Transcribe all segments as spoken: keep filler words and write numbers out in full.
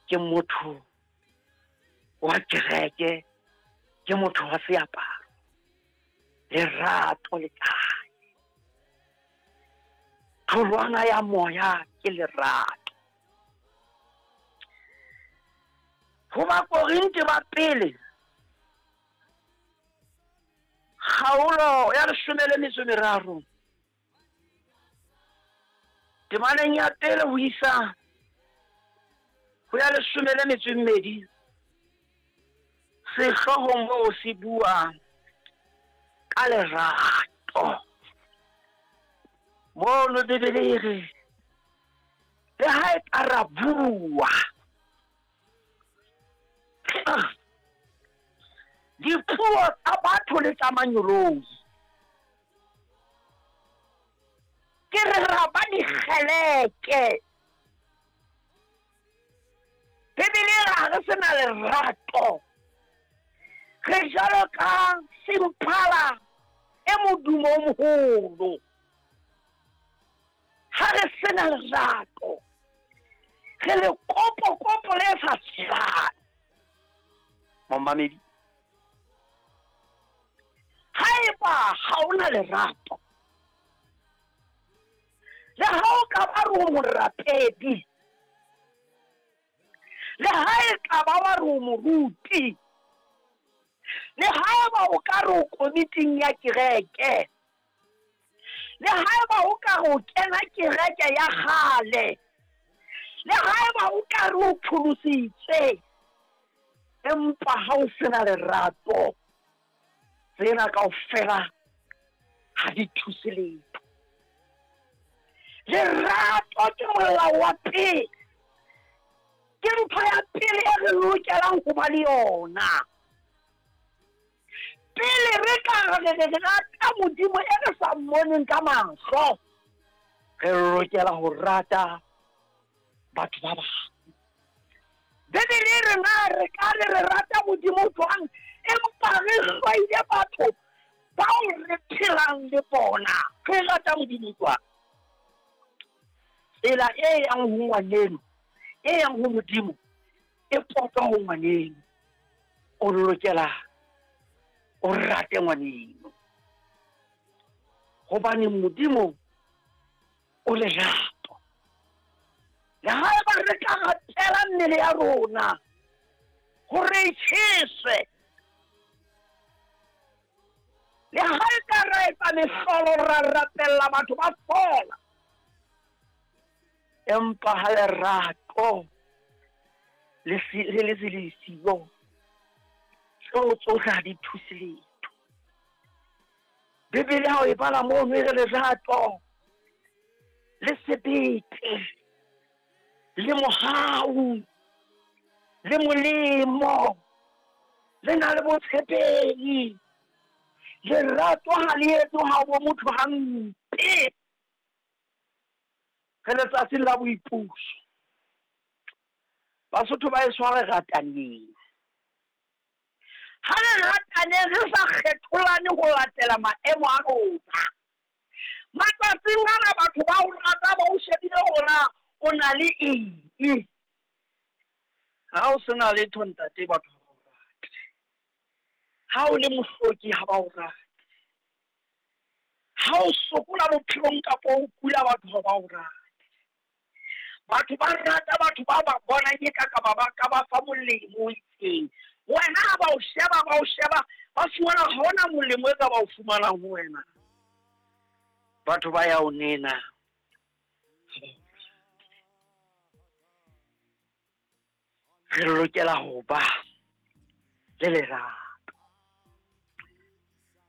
Ke motho wa kereke, ke motho wa seaparo. Lerato le kae? Tholwana ya moya ke lerato. Ho Bakorinthe ba pele, kgaolo ya leshome le metso e meraro, temaneng ya pele ho isa ho ya leshome le metso e mmedi, sehloohong moo se bua ka lerato. Mono Bibele e re, le ha e ka ra bua dipuo tsa batho le tsa mangeloi, ke re ra ba dikgeleke. Bibele e re ha re sena lerato, re jwalo ka semphala e modumo o moholo. Ha re sena lerato, re le kopo-kopo le sa tshelang. Momamedi, haeba ha o na lerato, le ha o ka ba re o morapedi, le ha e ka ba wa re o moruti, le haeba o ka re o komiting ya kereke, le haeba o ka re o kena kereke ya kgale, le haeba o ka re o pholositswe, empa ha o sena lerato, tsena kaofela ha di thuse letho. Lerato ke molao wa pele, ke ntho ya pele e re lokelang ho ba le yona. Pele re ka re re rata Modimo e re sa mmoneng ka mahlo, re lokela ho rata batho ba bang. Bibele e re na re ka re re rata Modimo jwang, empa re hloile batho bao re phelang le bona? Re rata Modimo jwang? Tsela e yang ho ngwaneno, e yang ho Modimo, e potwa ho ngwaneno. O lokela o rate ngwaneno, hobane Modimo o lerato. Le haeba re ka ratela mmele ya rona hore e tjheswe, le ha e ka ra etsa mehlolo ra rapella batho ba fola, empa ha lerato le le se le siyo, tseo tsohle ha di thuse letho. Bibele ha o e bala mono e re lerato le sebete le mohau le molemo le na le botshepehi. Lerato ha le etse ha bo motho hampe. Re letsatsing la boipuso, Basotho ba e tshware rataneng. Ha re rataneng, re sa kgetholane ho latela maemo a rona. Matsatsing ana batho ba o rata ba o shebile hore o na le eng. Ha o sena letho ntate, batho ha ba o rate. Ha o le mohloki ha ba o rate. Ha o sokola bophelong kapa o kula, batho ha ba o rate. Batho ba rata batho ba ba bonang e ka ka ba ka ba fa molemo o itseng. Wena ha ba o sheba, ba o sheba, ba fumana ha hona molemo e ka ba o fumanang ho wena. Batho ba ya o nena. Re lokela ho ba le lerato.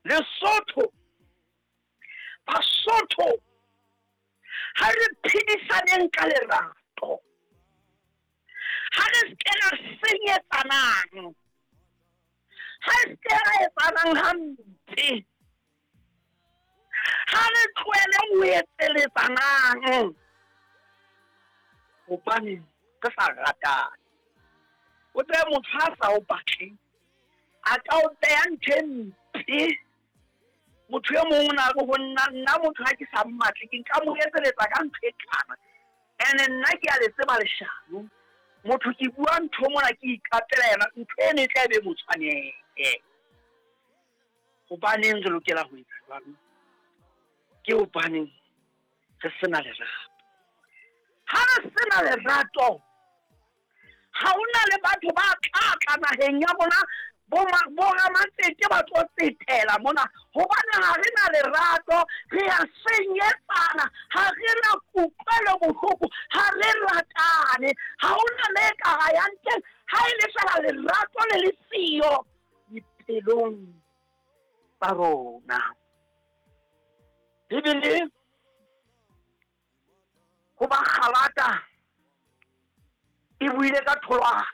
Lesotho, Basotho, ha re phedisaneng ka lerato. Ha re se ra senyetsanang, ha re se ra etsanang hampe, ha re tlohele ho etseletsanang, hobane re sa ratane. O tsebe motho ha sa o batle, a ka o beha ntho e mpe. Motho e mong o na re ho nna, nna motho ha ke sa mmatle, ke nka mo etseletsa ka ntho e kana. Ene nna ke a le tseba leshano. Motho ke bua ntho mona ke iqapela yena, ntho eno e tla be mo tshwanele. Hobaneng re lokela ho etsa jwalo? Ke hobaneng re sena lerato. Ha re sena lerato, ha hona le batho ba tla tla naheng ya rona, boramatsete ba tlo tsetela mona, hobane ha re na lerato, re a senyetsana, ha re na kutlwelo bohloko, ha re ratane, ha hona le ka ra yang teng, ha e le fela lerato le le siyo dipelong tsa rona. Bibele ho ba Galata e buile ka tholwana,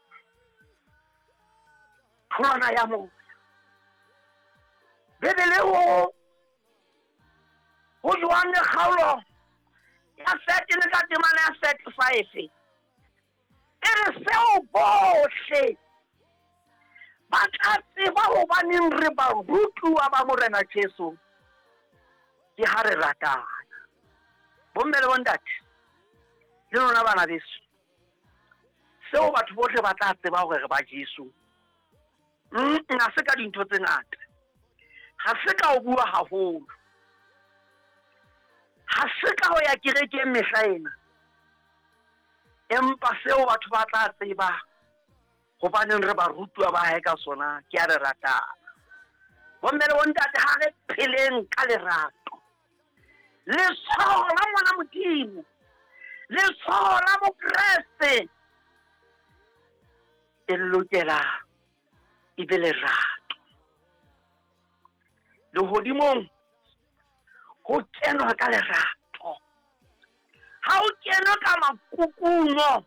tholwana ya moya. Bibele ho ho Johanne kgaolo ya thirteen ka temana ya thirty-five e re seo bohle ba tla tseba hobaneng re barutuwa ba Morena Jesu ke ha re ratana. Bomme le bontate le lona bana beso, seo batho bohle ba tla tseba hore re ba Jesu, ha se ka dintho tse ngata, ha se ka ho bua haholo, ha se ka ho ya kerekeng mehla ena, empa seo batho ba tla tseba hobaneng re barutuwa ba hae ka sona ke a re ratana. Bomme le bontate, ha re pheleng ka lerato. Letshwao la ngwana Modimo, letshwao la Mokreste e lokela e be lerato. Lehodimong ho kenwa ka lerato, ha ho kenwe ka makukuno,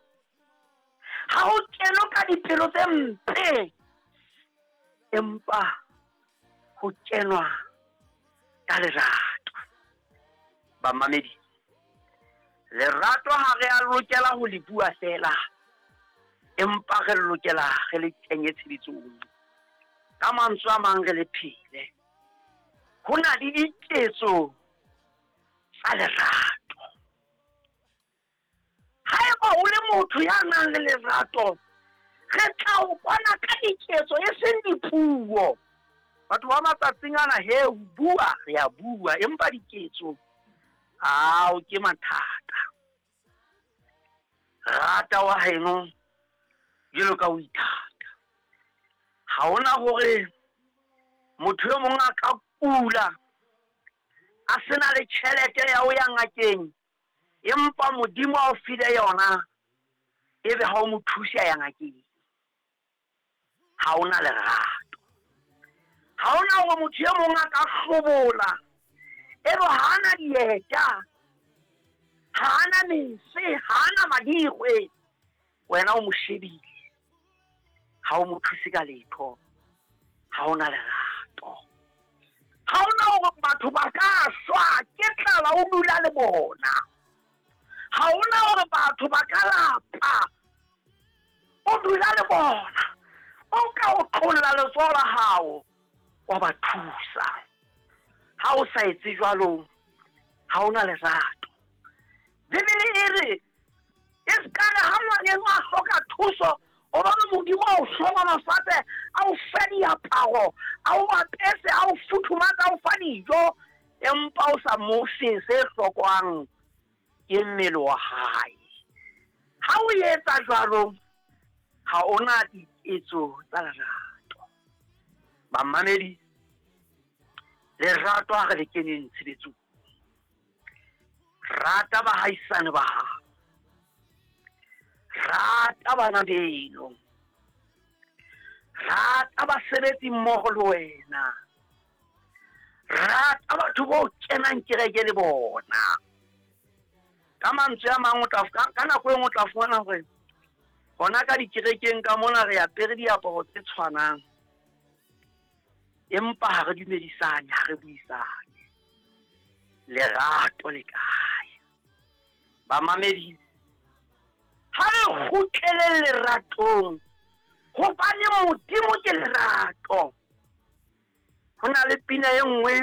ha ho kenwe ka dipelo tse mpe, empa ho kenwa ka lerato. Bamamedi, lerato ha re a lokela ho le bua fela, empa re lokela re le kenye tshebetsong. Ka mantswe a mang re le phele. Ho na le diketso tsa lerato. Haeba o le motho ya nang le lerato, re tla o bona ka diketso e seng dipuo. Batho ba matsatsing ana he ho bua, re a bua, empa diketso ao ke mathata. Rata wa heno jwalo ka o ithata. Ha hona hore motho e mong a ka kula a sena le tjhelete ya ho ya ngakeng, empa Modimo a o file yona, ebe ha o mo thuse a ya ngakeng. Ha hona lerato. Ha hona hore motho e mong a ka hlobola, ebe ha ana dieta, ha ana mese, ha ana madikgwe, wena o mo shebile, ha o mo thuse ka letho. Ha hona lerato. Ha hona hore batho ba ka shwa ke tlala o dula le bona. Ha hona hore batho ba ka lapa o dula le bona. O ka o tlolla letsoho la hao wa ba thusa. Ha o sa etse jwalo, ha hona lerato. Bibele e re e ska re ha ngwaneno a hloka thuso, o bona Modimo a o hlohonolofatse, a o fe diaparo, a o apese, a o futhumatse, a o fa dijo, empa o sa mo fe se hlokwang ke mmele wa hae. Ha o etsa jwalo, ha ona diketso tsa lerato. Bamamedi, lerato ha re le keneng tshebetsong. Rata bahaisane ba hao, rata bana beno, rata basebetsi mmoho le wena, rata batho bo kenang kereke le bona. Ka mantswe a mang o tla ka nako e nngwe o tla fumana hore hona ka dikerekeng ka mona re apere diaparo tse tshwanang, empa ha re dumedisane, ha re buisane. Lerato le kae? Bamamedi, ha re kgutlele leratong, hobane Modimo ke lerato. Ho na le pina e nngwe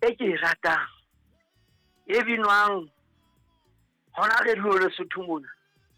e ke e ratang, e binwang hona re dule Lesotho mona.